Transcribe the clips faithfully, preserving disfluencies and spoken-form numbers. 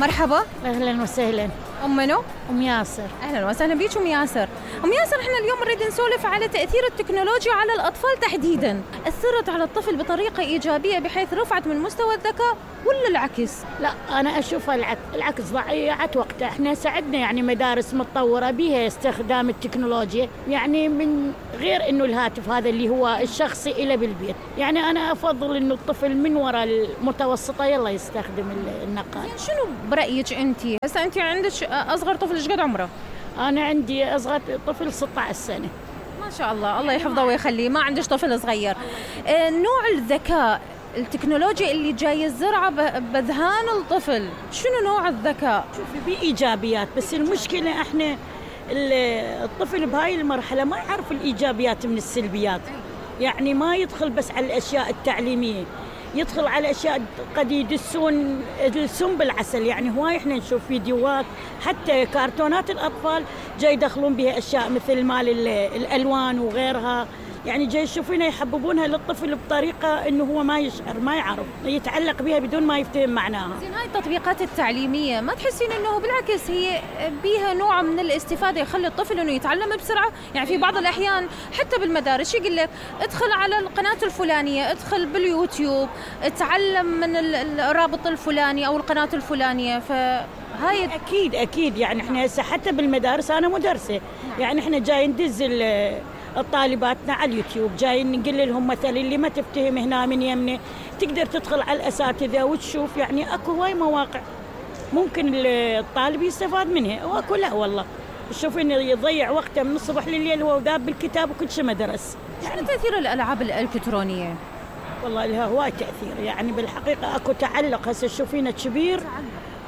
مرحبا. أهلا وسهلا. أم منو؟ أم ياسر. أهلا وسهلا بيك أم ياسر. أم ياسر، إحنا اليوم نريد نسولف على تأثير التكنولوجيا على الأطفال تحديداً. أثرت على الطفل بطريقة إيجابية بحيث رفعت من مستوى الذكاء ولا العكس؟ لا، أنا أشوفها العكس، العكس ضيعت وقتها. إحنا ساعدنا يعني مدارس متطورة بها استخدام التكنولوجيا، يعني من غير إنه الهاتف هذا اللي هو الشخصي إلى بالبيت. يعني أنا أفضل إنه الطفل من وراء المتوسطة يلا يستخدم النقال. شنو برأيك أنت؟ هسه أنت عندك أصغر طفل إيش قد عمره؟ أنا عندي أصغر طفل ستة عشر سنة. ما شاء الله، الله يحفظه ويخليه. ما عندش طفل صغير. آه، نوع الذكاء التكنولوجيا اللي جاي الزرعة بذهان الطفل، شنو نوع الذكاء؟ شوفي، بإيجابيات، بس المشكلة إحنا الطفل بهاي المرحلة ما يعرف الإيجابيات من السلبيات. يعني ما يدخل بس على الأشياء التعليمية، يدخل على أشياء قد يدسون السم بالعسل. يعني هواي إحنا نشوف فيديوهات حتى كرتونات الأطفال جاي يدخلون بها أشياء مثل مال الألوان وغيرها. يعني جاي يشوفونها يحببونها للطفل بطريقة إنه هو ما يشعر، ما يعرف، يتعلق بها بدون ما يفتهم معناها. زين، هاي التطبيقات التعليمية ما تحسين إنه بالعكس هي بيها نوع من الاستفادة يخلي الطفل إنه يتعلم بسرعة؟ يعني في بعض الأحيان حتى بالمدارس يقول لك ادخل على القناة الفلانية، ادخل باليوتيوب، اتعلم من الرابط الفلاني أو القناة الفلانية. فهاي أكيد أكيد يعني إحنا هسه حتى بالمدارس، أنا مدرسة، يعني إحنا جاي ندز الطالباتنا على اليوتيوب، جاي نقول لهم مثلا اللي ما تفتهم هنا من يمنه تقدر تدخل على الأساتذة وتشوف. يعني أكو هواي مواقع ممكن الطالب يستفاد منها، وأكو لا والله تشوف إنه يضيع وقته من الصبح لليل هو ذاب بالكتاب وكل شيء ما درس. يعني تأثير الألعاب الإلكترونية؟ والله لها هواي تأثير، يعني بالحقيقة أكو تعلق. هسه تشوفينه كبير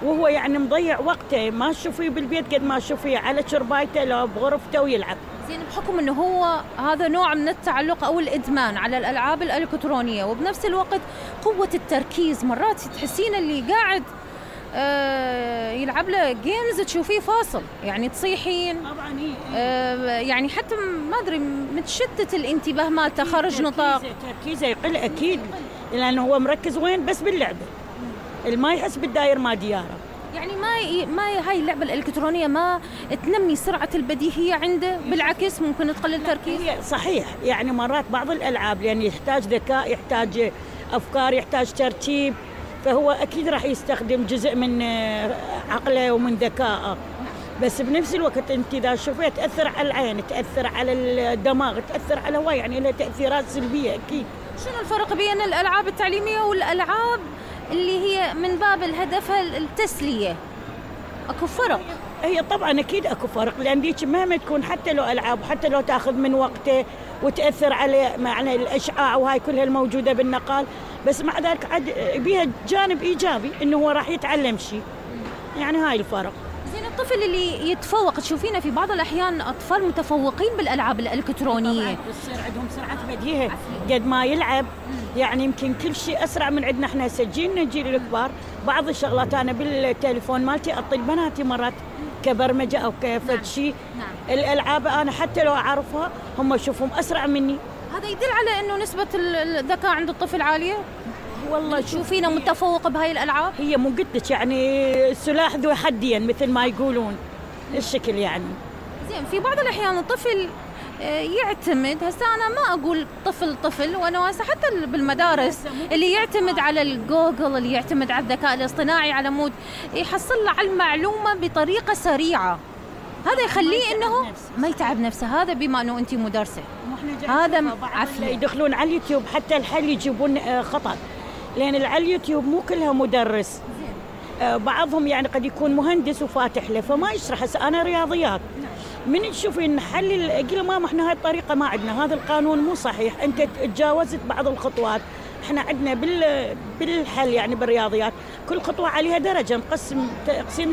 وهو يعني مضيع وقته، ما تشوفيه بالبيت قد ما تشوفيه على شربايته لو بغرفته ويلعب. زين، بحكم انه هو هذا نوع من التعلق او الادمان على الالعاب الالكترونيه، وبنفس الوقت قوه التركيز، مرات تحسين اللي قاعد آه يلعب له جيمز تشوفيه فاصل، يعني تصيحين طبعا هي آه يعني حتى ما ادري متشتت الانتباه مالته، خارج نطاق تركيزه يقل اكيد، لانه هو مركز وين بس باللعبه، اللي ما يحس بالداير ما دياره. يعني ما ي... ما هاي اللعبه الالكترونيه ما تنمي سرعه البديهيه عنده، بالعكس ممكن تقلل التركيز. صحيح، يعني مرات بعض الالعاب لان يحتاج ذكاء، يحتاج افكار، يحتاج ترتيب، فهو اكيد راح يستخدم جزء من عقله ومن ذكائه. بس بنفس الوقت انت اذا شوفيت تاثر على العين، تاثر على الدماغ، تاثر على هواي، يعني لها تاثيرات سلبيه اكيد. شنو الفرق بين الالعاب التعليميه والالعاب اللي هي من باب الهدف التسلية؟ اكو فرق؟ هي طبعا اكيد اكو فرق، لان ديك مهما تكون حتى لو العاب وحتى لو تاخذ من وقته وتاثر على معنى الاشعاع وهاي كلها الموجوده بالنقال، بس مع ذلك عاد بيها جانب ايجابي انه هو راح يتعلم شيء. يعني هاي الفرق. زين، الطفل اللي يتفوق تشوفينه في بعض الاحيان اطفال متفوقين بالالعاب الالكترونيه، بتصير عندهم سرعه بديهه قد ما يلعب، يعني يمكن كل شيء اسرع من عندنا احنا سجلنا الجيل الكبار. بعض الشغلات انا بالتليفون مالتي اعطي بناتي مرات كبرمجه او كفد شيء. نعم. الالعاب انا حتى لو اعرفها هم يشوفهم اسرع مني. هذا يدل على انه نسبه الذكاء عند الطفل عاليه. والله تشوفينه متفوق بهاي الالعاب؟ هي مو قلت لك يعني سلاح ذو حدين مثل ما يقولون الشكل يعني. زين، في بعض الاحيان الطفل يعتمد، هسه انا ما اقول طفل طفل، وانا هسه حتى بالمدارس اللي يعتمد على الجوجل، اللي يعتمد على الذكاء الاصطناعي على مود يحصل له على المعلومه بطريقه سريعه، هذا يخليه انه ما يتعب نفسه. هذا بما انه انت مدرسه، هذا عفوا يدخلون على اليوتيوب حتى الحل يجيبون خطأ، لان على اليوتيوب مو كلها مدرس، بعضهم يعني قد يكون مهندس وفاتح له فما يشرح. هسه انا رياضيات من تشوفين نحلل اقول ماما احنا هاي الطريقه ما عندنا، هذا القانون مو صحيح، انت تجاوزت بعض الخطوات. احنا عندنا بال بالحل يعني بالرياضيات كل خطوه عليها درجه مقسم تقسيم،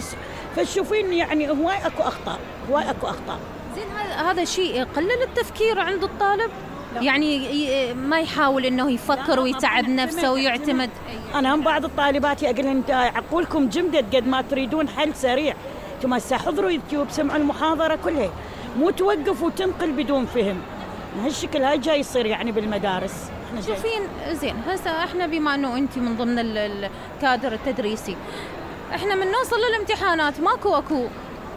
فتشوفين يعني هواي اكو اخطاء، هواي اكو اخطاء. زين، هذا شيء يقلل التفكير عند الطالب؟ لا. يعني ما يحاول انه يفكر ويتعب نفسه ويعتمد. انا هم بعض الطالبات اقول انت عقولكم جمدت قد ما تريدون حل سريع، انتم هسه حضروا يوتيوب سمعوا المحاضره كلها، مو توقف وتنقل بدون فهم. هالشكل هاي جاي يصير يعني بالمدارس. شوفين، زين هسه احنا بما انه انت من ضمن الكادر التدريسي، احنا من نوصل للامتحانات ماكو اكو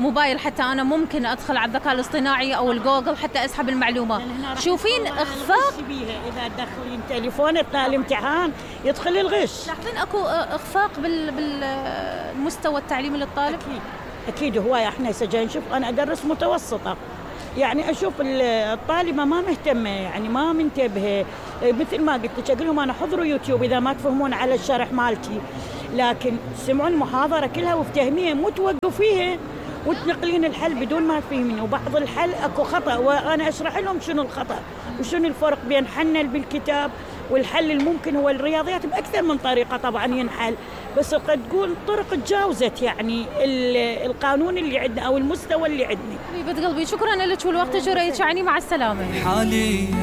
موبايل حتى انا ممكن ادخل على الذكاء الاصطناعي او الجوجل حتى اسحب المعلومه. شوفين اخفاق بيها اذا تدخلين تليفون اثناء الامتحان يدخل الغش. لاحظين اكو اخفاق بال بالمستوى التعليمي للطالب؟ اكيد اكيد. هواي احنا هسه نشوف، انا ادرس متوسطه، يعني اشوف الطالبه ما مهتمه، يعني ما منتبهه، مثل ما قلت لك اقول لهم انا حضروا يوتيوب اذا ما تفهمون على الشرح مالتي، لكن سمعوا المحاضره كلها وافتهميها، مو توقفيها وتنقلين الحل بدون ما تفهمين. وبعض الحل اكو خطا وانا اشرح لهم شنو الخطا وشنو الفرق بين حل بالكتاب والحل الممكن. هو الرياضيات باكثر من طريقه طبعا ينحل، بس قد تقول طرق تجاوزت يعني القانون اللي عندنا او المستوى اللي عندنا. حبيبه قلبي شكرا لك ولوقتك وريتك، يعني مع السلامه.